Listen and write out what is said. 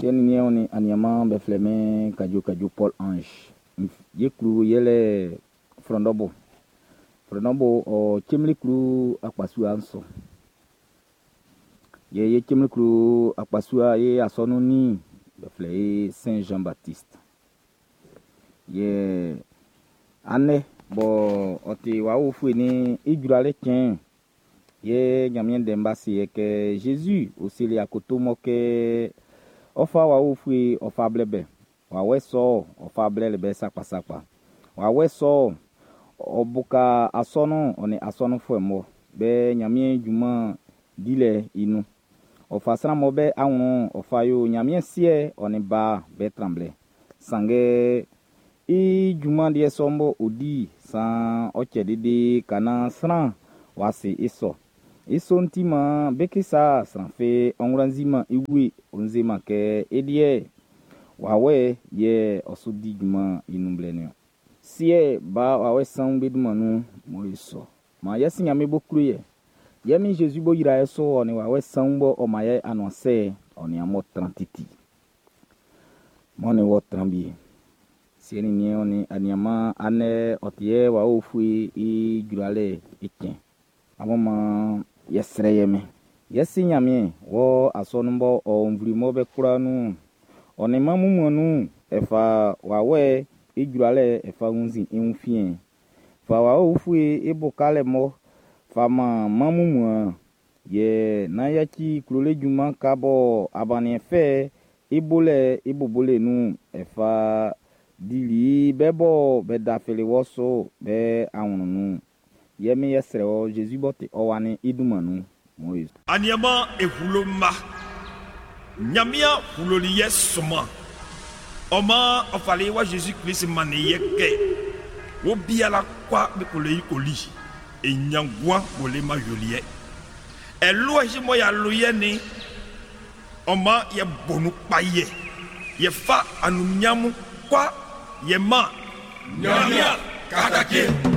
Siɛ nin niɛn nin aniaan be flɛ min Kadjo Kadjo Paul Ange. Ye klo yɛlɛ Frɔndɔbo. Frɔndɔbo ɔ Cemli klo akpasua su. Yɛ ye Cemli klo akpasua ye asɔnun ni be flɛ i Saint Jean Baptiste. Yɛ andɛ bɔ ɔ ti Wawɛ Ufue ni i jralɛ cɛn yɛ Ɲanmiɛn ndɛ'n ba se yɛ kɛ Jésus ɔ seli akoto mɔ kɛ ɔ fa Wawɛ Ufue ɔ fa blɛ bɛ. Wawɛ sɔ ɔ fa blɛli bɛ sakpasakpa. Wawɛ sɔ ɔ buka asɔnun ɔ nin asɔnunfuɛ mɔ be Ɲanmiɛn junman dilɛ i nun. Ɔ fa sran mɔ be awlɛn ɔ fa yo Ɲanmiɛn siɛ ɔ nin ba be tranblɛ. Sanngɛ i junman diɛ sɔ'n bɔ ɔ di san ɔ cɛ dede ka naan sran w'a se i sɔ. I sɔ'n ti man be kisa sran fi ɔ wlanziman i wue ɔ nzeman kɛ i liɛ wawɛ yɛ ɔ su di junman i nun blɛ niɔn. Siɛ ba wawɛ sanwun be dunman nun mɔ i sɔ. Man yɛ si Ɲanmiɛn bo klo yɛ. Yɛ min Jésus bo yra yɛ so ɔ nin wawɛ sanwun bɔ ɔ man yɛ anuansɛ ɔ nin amun tran titi. Mɔ nin wɔ tran bi. Siɛ nin niɛn nin aniaan andɛ ɔ ti yɛ Wawɛ Ufue i jralɛ i cɛn. Amun man yɛ srɛ yɛ mɛn. Yɛ si Ɲanmiɛn wɔ asɔnun bɔ ɔ nvle mɔ be kwla nun ɔ nin man mummuan nun e fa wawɛ i jralɛ e fa wunnzin i wun fiɛn. Fa Wawɛ Ufue i bo kalɛ mɔ fa man man mummuan yɛ nán yaci klolɛ junman ka bɔ abaniɛn fɛ i bolɛ i bobole nun e fa dili be bɔ be dafili wɔ so be awlɛn nun. Yɛ min yɛ srɛ wɔ Jésus b'ɔ ti ɔ wa ni i dunman nun Moïse. Aniama ehulo ma. Ɲanmiɛn huloli yɛ sɔman. Ɔ maan ɔ fali wa Jésus Klist mannin yɛ kɛ wo biala kwa be kole i koli e ɲanguan bole ma yoliɛ. Ɛlua si mɔ ya lo yɛ ni ɔ maan yɛ bonu kpa yɛ yɛ fa anumiamu kwa yɛ ma. Ɲanmiɛn katake.